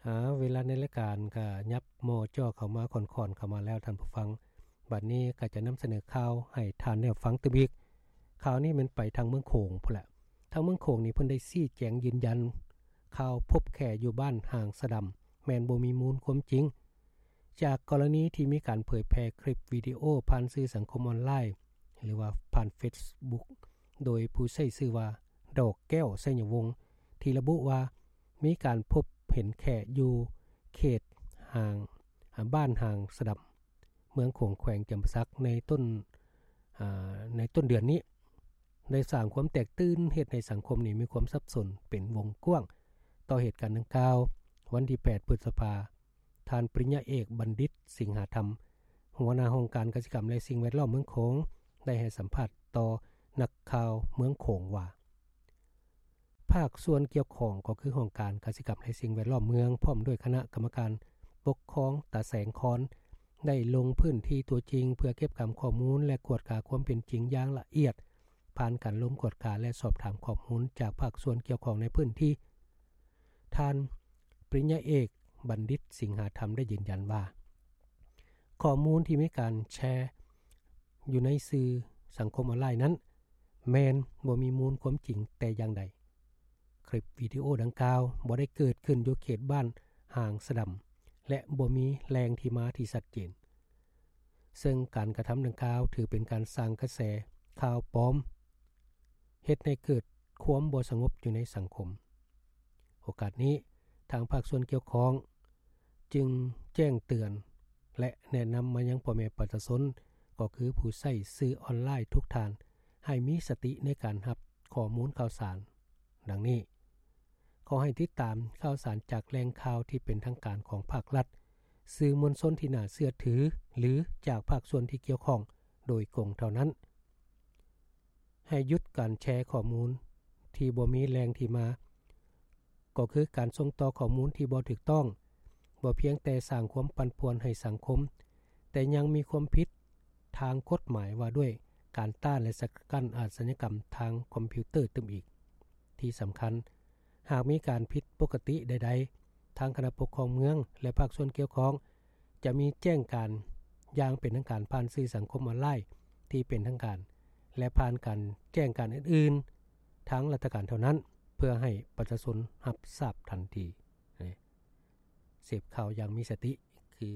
ອາ ເວລາໃນລາຍການກໍຫຍັບມໍ່ຈໍ້ເຂົ້າມາ ຄ່ອນໆ ເຂົ້າມາແລ້ວທ່ານຜູ້ຟັງ. ບັດນີ້ກໍຈະນຳສະເໜີຂ່າວໃຫ້ທ່ານໄດ້ຟັງຕື່ມອີກ. ຂ່າວນີ້ແມ່ນໄປທາງເມືອງໂຂງພຸ້ນແຫຼະ. ທາງເມືອງໂຂງນີ້ເພິ່ນໄດ້ຊີ້ແຈງຢືນຢັນ ຂ່າວພົບແຂ້ຢູ່ບ້ານຫາງສະດຳ ແມ່ນບໍ່ມີມູນຄວາມຈິງ. ຈາກກໍລະນີທີ່ມີການເຜີຍແຜ່ຄລິບວິດີໂອຜ່ານສື່ສັງຄົມອອນລາຍ ຫຼືວ່າຜ່ານເຟສບຸກ ໂດຍຜູ້ໃຊ້ຊື່ວ່າ ດອກແກ້ວ ໄຊຍະວົງ ທີ່ລະບຸວ່າ ມີການພົບເຫັນແຂ້ຢູ່ເຂດຫາງ ອາ ບ້ານຫາງສະດຳ ເມືອງໂຂງ ແຂວງຈຳປາສັກ ໃນຕົ້ນ ອາ ໃນຕົ້ນເດືອນນີ້ ໄດ້ສ້າງຄວາມແຕກຕື່ນ ເຮັດໃຫ້ສັງຄົມນີ້ມີຄວາມສັບສົນເປັນວົງກວ້າງຕໍ່ເຫດການດັ່ງກ່າວ. ວັນທີແປດ ພຶດສະພາ ທ່ານປະລິນຍາເອກ ບັນດິດ ສິງຫາທຳ ຫົວໜ້າຫ້ອງການກະສິກຳ ແລະ ສິ່ງແວດລ້ອມເມືອງໂຂງ ໄດ້ໃຫ້ສຳພາດຕໍ່ນັກຂ່າວເມືອງໂຂງວ່າ ພາກສ່ວນກ່ຽວຂ້ອງ ກໍຄືຫ້ອງການກະສິກຳ ແລະ ສິ່ງແວດລ້ອມເມືອງ ພ້ອມດ້ວຍຄະນະກຳມະການປົກຄອງຕາແສງຄອນ ໄດ້ລົງພື້ນທີ່ຕົວຈິງ ເພື່ອເກັບກຳຂໍ້ມູນ ແລະ ກວດກາຄວາມເປັນຈິງຢ່າງລະອຽດ ຜ່ານການລົງກວດກາ ແລະ ສອບຖາມຂໍ້ມູນຈາກພາກສ່ວນກ່ຽວຂ້ອງໃນພື້ນທີ່. ທ່ານປະລິນຍາເອກ ບັນດິດ ສິງຫາທຳ ໄດ້ຢືນຢັນວ່າ ຂໍ້ມູນທີ່ມີການແຊຢູ່ໃນສື່ສັງຄົມອອນລາຍນັ້ນ ແມ່ນບໍ່ມີມູນຄວາມຈິງແຕ່ຢ່າງໃດ. ຄລິບວິດີໂອດັ່ງກ່າວບໍ່ໄດ້ເກີດຂຶ້ນຢູ່ເຂດບ້ານຫາງສະດຳ ແລະ ບໍ່ມີແຫຼ່ງທີ່ມາທີ່ຊັດເຈນ, ເຊິ່ງການກະທຳດັ່ງກ່າວຖືເປັນການສ້າງກະແສຂ່າວປອມ ເຮັດໃຫ້ເກີດຄວາມບໍ່ສະຫງົບຢູ່ໃນສັງຄົມ. ໂອກາດນີ້ ທາງພາກສ່ວນກ່ຽວຂ້ອງຈຶ່ງແຈ້ງເຕືອນ ແລະ ແນະນຳມາຍັງພໍ່ແມ່ປະຊາຊົນ ກໍຄືຜູ້ໃຊ້ສື່ອອນລາຍທຸກທ່ານ ໃຫ້ມີສະຕິໃນການຮັບຂໍ້ມູນຂ່າວສານ ດັ່ງນີ້. ຂໍໃຫ້ຕິດຕາມຂ່າວສານຈາກແຫຼ່ງຂ່າວທີ່ເປັນທາງການຂອງພາກລັດ, ສື່ມວນຊົນທີ່ໜ້າເຊື່ອຖື ຫຼື ຈາກພາກສ່ວນທີ່ກ່ຽວຂ້ອງໂດຍກົງເທົ່ານັ້ນ. ໃຫ້ຢຸດການແຊຂໍ້ມູນທີ່ບໍ່ມີແຫຼ່ງທີ່ມາ, ກໍຄືການສົ່ງຕໍ່ຂໍ້ມູນທີ່ບໍ່ຖືກຕ້ອງ, ບໍ່ພຽງແຕ່ສ້າງຄວາມປັ່ນປ່ວນໃຫ້ສັງຄົມ, ແຕ່ຍັງມີຄວາມຜິດທາງກົດໝາຍວ່າດ້ວຍການຕ້ານ ແລະ ສະກັດກັ້ນອາຊະຍາກຳທາງຄອມພິວເຕີຕື່ມອີກ. ທີ່ສຳຄັນ, ຫາກມີການຜິດປົກກະຕິໃດໆ, ທາງຄະນະປົກຄອງເມືອງ ແລະ ພາກສ່ວນກ່ຽວຂ້ອງ ຈະມີແຈ້ງການຢ່າງເປັນທາງການຜ່ານສື່ສັງຄົມອອນລາຍທີ່ເປັນທາງການ ແລະ ຜ່ານການແຈ້ງການອື່ນໆ ທາງລັດຖະການເທົ່ານັ້ນ ເພື່ອໃຫ້ປະຊາຊົນຮັບຊາບທັນທີ. ເສບຂ່າວຢ່າງມີສະຕິ ຄື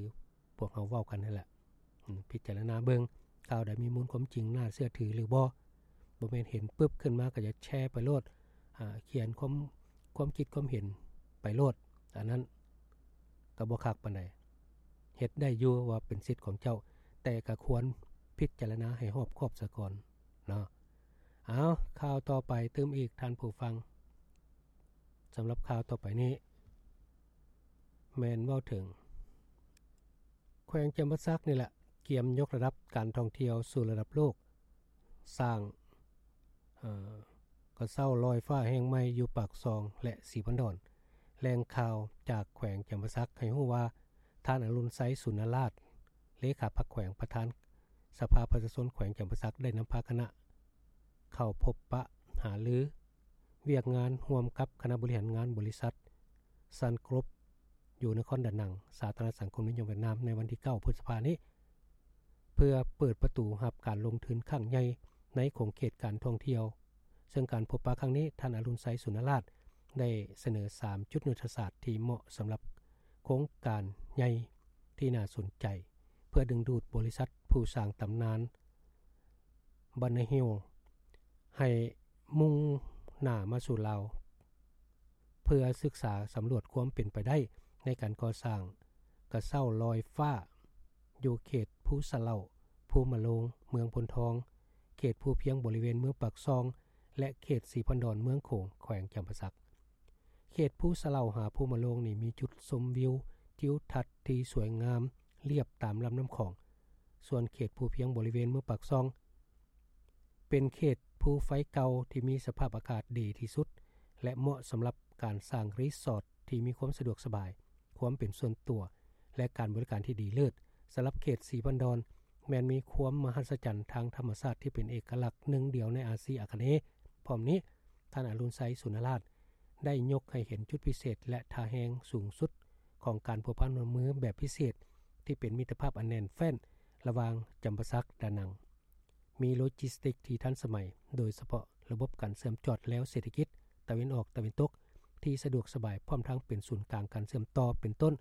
ພວກເຮົາເວົ້າກັນຫັ້ນແຫຼະ. ອາ ພິຈາລະນາເບິ່ງ ຂ່າວໃດມີມູນຄວາມຈິງ ໜ້າເຊື່ອຖືຫຼືບໍ່. ບໍ່ແມ່ນເຫັນປຶບຂຶ້ນມາກໍຈະແຊໄປໂລດ, ອາ ຂຽນຄວາມ, ຄວາມຄິດຄວາມເຫັນໄປໂລດ, ອັນນັ້ນກໍບໍ່ຄັກປານໃດ. ເຮັດໄດ້ຢູ່ວ່າເປັນສິດຂອງເຈົ້າ, ແຕ່ກໍຄວນພິຈາລະນາໃຫ້ຮອບຄອບສາກ່ອນເນາະ. ເອົາ, ຂ່າວຕໍ່ໄປຕື່ມອີກທ່ານຜູ້ຟັງ. ສຳລັບຂ່າວຕໍ່ໄປນີ້ ແມ່ນເວົ້າເຖິງ ແຂວງຈຳປາສັກນີ້ແຫຼະ ກຽມຍົກລະດັບການທ່ອງທ່ຽວສູ່ລະດັບໂລກ, ສ້າງ, ເອີ, ກະເຊົາລອຍຟ້າແຫ່ງໃໝ່ຢູ່ປາກຊ່ອງ ແລະ ສີພັນດອນ. ແຫຼ່ງຂ່າວຈາກແຂວງຈຳປາສັກໃຫ້ຮູ້ວ່າ ທ່ານ ອະລຸນໄຊ ສຸນນະລາດ ເລຂາພັກແຂວງ ປະທານສະພາປະຊາຊົນແຂວງຈຳປາສັກ ໄດ້ນຳພາຄະນະເຂົ້າພົບປະຫາລື ວຽກງານຮ່ວມກັບຄະນະບໍລິຫານງານບໍລິສັດ Sun Group ຢູ່ນະຄອນດານັງ ສາທາລະນະລັດສັງຄົມນິຍົມຫວຽດນາມ ໃນວັນທີເກົ້າ ພຶດສະພານີ້ ເພື່ອເປີດປະຕູຮັບການລົງທຶນຄັ້ງໃຫຍ່ໃນຂົງເຂດການທ່ອງທ່ຽວ. ເຊິ່ງການພົບປະຄັ້ງນີ້ ທ່ານ ອະລຸນໄຊ ສຸນນະລາດ ໄດ້ສະເໜີສາມຈຸດຍຸດທະສາດທີ່ເໝາະສຳລັບໂຄງການໃຫຍ່ທີ່ໜ້າສົນໃຈ ເພື່ອດຶງດູດບໍລິສັດຜູ້ສ້າງຕຳນານ Banana Hill ໃຫ້ມຸ່ງໜ້າມາສູ່ລາວ ເພື່ອສຶກສາສຳຫຼວດຄວາມເປັນໄປໄດ້ໃນການກໍ່ສ້າງກະເຊົາລອຍຟ້າ ຢູ່ເຂດພູສະເຫຼົ່າ, ພູມະໂລງ, ເມືອງໂພນທອງ, ເຂດພູພຽງບໍລິເວນເມືອງປາກຊ່ອງ ແລະ ເຂດສີພັນດອນເມືອງໂຂງ ແຂວງຈຳປາສັກ. ເຂດພູສະເຫຼົ່າຫາພູມະໂລງນີ້ມີຈຸດຊົມວິວທິວທັດທີ່ສວຍງາມລຽບຕາມລຳນ້ຳຂອງ, ສ່ວນເຂດພູພຽງບໍລິເວນເມືອງປາກຊ່ອງ ເປັນເຂດພູໄຟເກົ່າທີ່ມີສະພາບອາກາດດີທີ່ສຸດ ແລະ ເໝາະສຳລັບການສ້າງຣີສອດທີ່ມີຄວາມສະດວກສະບາຍ, ຄວາມເປັນສ່ວນຕົວ ແລະ ການບໍລິການທີ່ດີເລີດ. ສຳລັບເຂດສີພັນດອນ ແມ່ນມີຄວາມມະຫັດສະຈັນທາງທຳມະຊາດທີ່ເປັນເອກະລັກໜຶ່ງດຽວໃນອາຊີອາຄະເນ. ພ້ອມນີ້, ທ່ານ ອະລຸນໄຊ ສຸນນະລາດ ໄດ້ຍົກໃຫ້ເຫັນຈຸດພິເສດ ແລະ ທ່າແຮງສູງສຸດ ຂອງການພົວພັນຮ່ວມມືແບບພິເສດ ທີ່ເປັນມິດຕະພາບອັນແໜ້ນແຟ້ນລະຫວ່າງຈຳປາສັກ-ດານັງ. ມີໂລຈິສຕິກທີ່ທັນສະໄໝ, ໂດຍສະເພາະລະບົບການເຊື່ອມຈອດແລວເສດຖະກິດຕາເວັນອອກ-ຕາເວັນຕົກ ທີ່ສະດວກສະບາຍ, ພ້ອມທັງເປັນສູນກາງການເຊື່ອມຕໍ່ ເປັນຕົ້ນ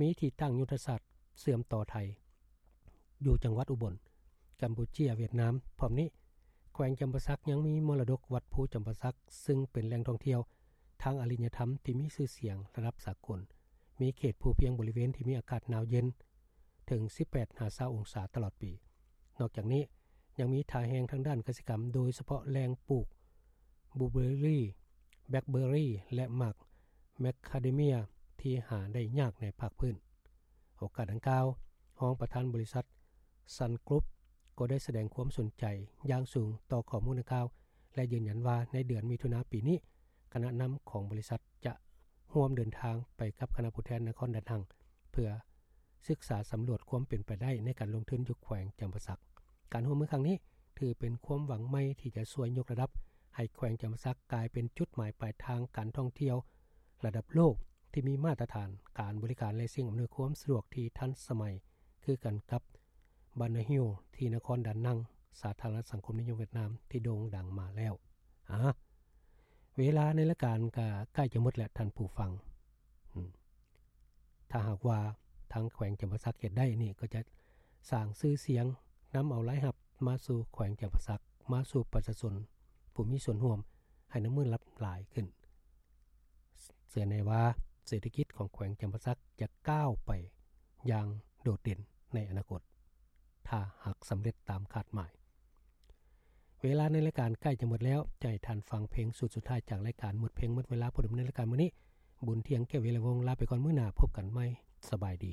ມີທີ່ຕັ້ງຍຸດທະສາດເຊື່ອມຕໍ່ໄທ ຢູ່ຈັງຫວັດອຸບົນ, ກຳປູເຈຍ, ຫວຽດນາມ. ພ້ອມນີ້, ແຂວງຈຳປາສັກຍັງມີມໍລະດົກວັດພູຈຳປາສັກ, ຊຶ່ງເປັນແຫຼ່ງທ່ອງທ່ຽວທາງອາລິຍະທຳທີ່ມີຊື່ສຽງລະດັບສາກົນ, ມີເຂດພູພຽງບໍລິເວນທີ່ມີອາກາດໜາວເຢັນເຖິງສິບແປດຫາຊາວອົງສາຕະຫຼອດປີ. ນອກຈາກນີ້, ຍັງມີທ່າແຮງທາງດ້ານກະສິກຳ, ໂດຍສະເພາະແຫຼ່ງປູກບລູເບີຣີ, ແບລັກເບີຣີ ແລະ ໝາກແມກຄາເດເມຍ ທີ່ຫາໄດ້ຍາກໃນພາກພື້ນ. ໂອກາດດັ່ງກ່າວ, ຮອງປະທານບໍລິສັດ Sun Group ກໍໄດ້ສະແດງຄວາມສົນໃຈຢ່າງສູງຕໍ່ຂໍ້ມູນດັ່ງກ່າວ ແລະ ຢືນຢັນວ່າໃນເດືອນມິຖຸນາປີນີ້, ຄະນະນຳຂອງບໍລິສັດຈະຮ່ວມເດີນທາງໄປກັບຄະນະຜູ້ແທນນະຄອນດານັງ ເພື່ອສຶກສາສຳຫຼວດຄວາມເປັນໄປໄດ້ໃນການລົງທຶນຢູ່ແຂວງຈຳປາສັກ. ການຮ່ວມມືຄັ້ງນີ້ຖືເປັນຄວາມຫວັງໃໝ່ທີ່ຈະຊ່ວຍຍົກລະດັບໃຫ້ແຂວງຈຳປາສັກກາຍເປັນຈຸດໝາຍປາຍທາງການທ່ອງທ່ຽວລະດັບໂລກທີ່ມີມາດຕະຖານການບໍລິການ ແລະ ສິ່ງອຳນວຍຄວາມສະດວກທີ່ທັນສະໄໝ ຄືກັນກັບ Banana Hill ທີ່ນະຄອນດານັງ, ສາທາລະນະສັງຄົມນິຍົມຫວຽດນາມ ທີ່ໂດ່ງດັງມາແລ້ວ. ອາ, ເວລາໃນລາຍການກໍໃກ້ຈະໝົດແລ້ວທ່ານຜູ້ຟັງ. ອືມ, ຖ້າຫາກວ່າທາງແຂວງຈຳປາສັກເຮັດໄດ້ນີ້ ກໍຈະສ້າງຊື່ສຽງ, ນຳເອົາລາຍຮັບມາສູ່ແຂວງຈຳປາສັກ, ມາສູ່ປະຊາຊົນຜູ້ມີສ່ວນຮ່ວມ, ໃຫ້ນ້ຳມືນຫຼັບຫຼາຍຂຶ້ນ. ເຊື່ອແນ່ວ່າເສດຖະກິດຂອງແຂວງຈຳປາສັກຈະກ້າວໄປຢ່າງໂດດເດັ່ນໃນອະນາຄົດ, ຖ້າຫາກສຳເລັດຕາມຄາດໝາຍ. ເວລາໃນລາຍການໃກ້ຈະໝົດແລ້ວ, ຈະໃຫ້ທ່ານຟັງເພງຊຸດສຸດທ້າຍຈາກລາຍການ. ໝົດເພງໝົດເວລາ. ຜູ້ດຳເນີນລາຍການມື້ນີ້ ບຸນທຽງ ແກ້ວວິໄລວົງ ລາໄປກ່ອນ. ມື້ໜ້າພົບກັນໃໝ່. ສະບາຍດີ.